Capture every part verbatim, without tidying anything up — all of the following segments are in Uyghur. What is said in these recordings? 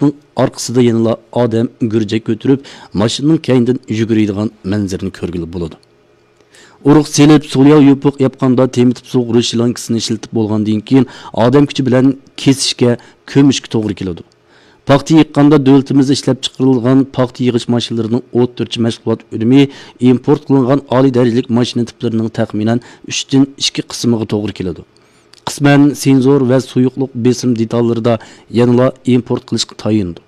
ئارقىسىدا يەنىلا ئادەم گۈرجەك كۆتۈرۈپ، ماشىنىنىڭ كەينىدىن يۈگۈرىدىغان مەنزىرىنى كۆرگىلى بولىدۇ. ئۇرۇق سېلىپ، سولياۋ يوپۇق ياپقاندا تېمىتىپ سۇغۇرۇش لانكىسىنى ئىشلىتىپ بولغاندىن كېيىن، ئادەم كۈچى بىلەن كېسىشكە، كۆمۈشكە توغرا كېلىدۇ. پاختا يىغقاندا دۆلىتىمىزدە ئىشلەپچىقىرىلغان پاختا يىغىش ماشىنىلىرىنىڭ ئوتتۇرىچە مەشغۇلات ئۈنۈمى ئىمپورت قىلىنغان ئالىي دەرىجىلىك ماشىنا تىپلىرىنىڭ تەخمىنەن ئۈچتىن ئىككى قىسمىغا توغرا كېلىدۇ. قىسمەن سېنزور ۋە سۇيۇقلۇق بېسىم دېتاللىرىدا يەنىلا ئىمپورت قىلىشقا تايىنىدۇ.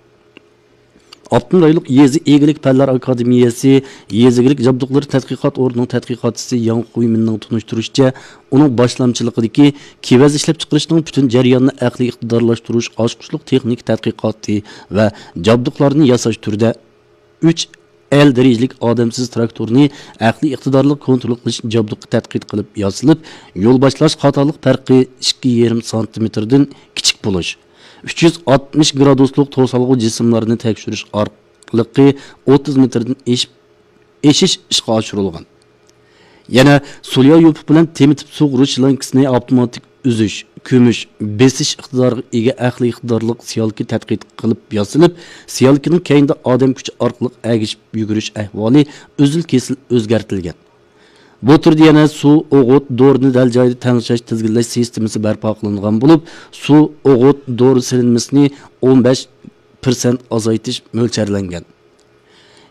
ئاپتونوم رايونلۇق يېزا ئىگىلىك پەنلەر ئاكادېمىيەسى يېزا ئىگىلىك جابدۇقلىرى تەتقىقات ئورنىنىڭ تەتقىقاتچىسى ياڭ خۇيمىننىڭ تونۇشتۇرۇشىچە، ئۇنىڭ باشلامچىلىقىدىكى كېۋەز ئىشلەپچىقىرىشنىڭ پۈتۈن جەريانىنى ئەقلىي ئىقتىدارلاشتۇرۇش ئاچقۇچلۇق تېخنىكا تەتقىقاتى ۋە جابدۇقلارنى ياساش تۈرىدە ئۈچ ئەل دەرىجىلىك ئادەمسىز تىراكتورنى ئەقلىي ئىقتىدارلىق كونترول قىلىش جابدۇقى تەتقىق قىلىپ ياسىلىپ، يول باشلاش خاتالىق پەرقى ئىككى يېرىم سانتىمېتىردىن كىچىك بولۇش، ئۈچ يۈز ئاتمىش گرادۇسلۇق توسالغۇ جىسىملارنى تەكشۈرۈش ئارقىلىقى ئوتتۇز مېتىردىن ئېشىپ، ئېشىش ئىشقا ئاشۇرۇلغان. يەنە سولياۋ يوپۇق بىلەن تېمىتىپ سۇغۇرۇش لانكىسىنى ئاپتوماتىك ئۈزۈش، كۆمۈش، بېسىش ئىقتىدارىغا ئىگە ئەقلىي ئىقتىدارلىق سېيالكا تەتقىق قىلىپ ياسىلىپ، سېيالكىنىڭ كەينىدە ئادەم كۈچى ئارقىلىق ئەگىشىپ يۈگۈرۈش ئەھۋالى ئۈزۈل-كېسىل ئۆزگەرتىلگەن. بۇ تۈردە يەنە سۇ، ئوغۇت، دورىنى دەل جايىدا تەڭشەش، تىزگىنلەش سىستېمىسى بەرپا قىلىنغان بولۇپ، سۇ، ئوغۇت، دورا سېلىنمىسىنى ئون بەش پىرسەنت ئازايتىش مۆلچەرلەنگەن.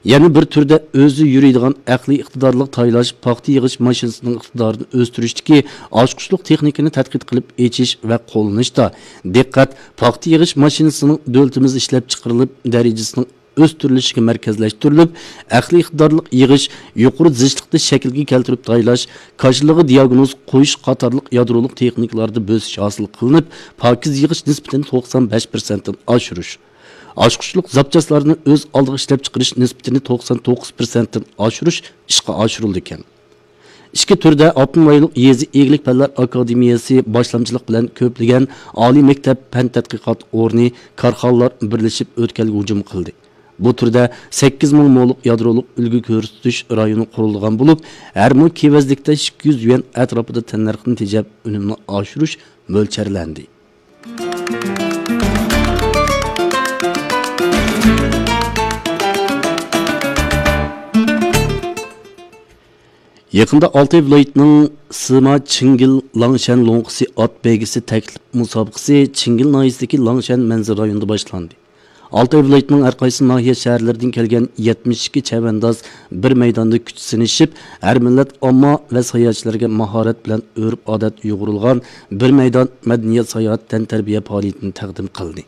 يەنە بىر تۈردە ئۆزى يۈرىدىغان ئەقلىي ئىقتىدارلىق تايلاش، پاختا يىغىش ماشىنىسىنىڭ ئىقتىدارىنى ئۆستۈرۈشتىكى ئاچقۇچلۇق تېخنىكىنى تەتقىق قىلىپ ئېچىش ۋە قوللىنىشتا دىققەت پاختا يىغىش ماشىنىسىنىڭ دۆلىتىمىزدە ئىشلەپچىقىرىلىپ، دەرىجىسىنىڭ ئۆستۈرۈلۈشىگە مەركەزلەشتۈرۈلۈپ، ئەقلىي ئىقتىدارلىق يىغىش، يۇقىرى زىچلىقتا شەكىلگە كەلتۈرۈپ تايلاش، كاشىلىغا دىياگنوز قويۇش قاتارلىق يادرولۇق تېخنىكىلاردا بۆسۈش ھاسىل قىلىنىپ، پاكىز يىغىش نىسبىتىنى توقسان بەش پىرسەنتتىن ئاشۇرۇش، ئاچقۇچلۇق زاپچاسلارنى ئۆز ئالدىغا ئىشلەپچىقىرىش نىسبىتىنى توقسان توققۇز پىرسەنتتىن ئاشۇرۇش ئىشقا ئاشۇرۇلىدىكەن. ئىككى تۈردە ئاپتونوم رايونلۇق يېزا ئىگىلىك پەنلەر ئاكادېمىيەسى باشلامچىلىق بىلەن كۆپلىگەن ئالىي مەكتەپ پەن تەتقىقات ئورنى، كارخانىلار بىرلىشىپ ئۆتكەلگە ھۇجۇم قىلدى. بۇ تۈردە سەككىز مىڭ مولۇق يادرولۇق ئۈلگە كۆرسىتىش رايونى قۇرۇلغان بولۇپ، ھەر مو كېۋەزلىكتە ئىككى يۈز يۈەن ئەتراپىدا تەننەرخنى تېجەپ، ئۈنۈمنى ئاشۇرۇش مۆلچەرلەندى. يېقىندا ئالتاي ۋىلايىتىنىڭ سىما چىڭگىل لاڭشەن لوڭقىسى ئات بەيگىسى تەكلىپ مۇسابىقىسى چىڭگىل ناھىيەسىدىكى لاڭشەن مەنزىرە رايونىدا باشلاندى. ئالتاي ۋىلايىتىنىڭ ھەر قايسى ناھىيە شەھەرلىرىدىن كەلگەن يەتمىش ئىككى چەۋەنداز بىر مەيداندا كۈچ سىنىشىپ، ھەر مىللەت ئامما ۋە ساياھەتچىلەرگە ماھارەت بىلەن ئۆرپ-ئادەت يۇغۇرۇلغان بىر مەيدان مەدەنىيەت ساياھەت تەنتەربىيە پائالىيىتىنى تەقدىم قىلدى.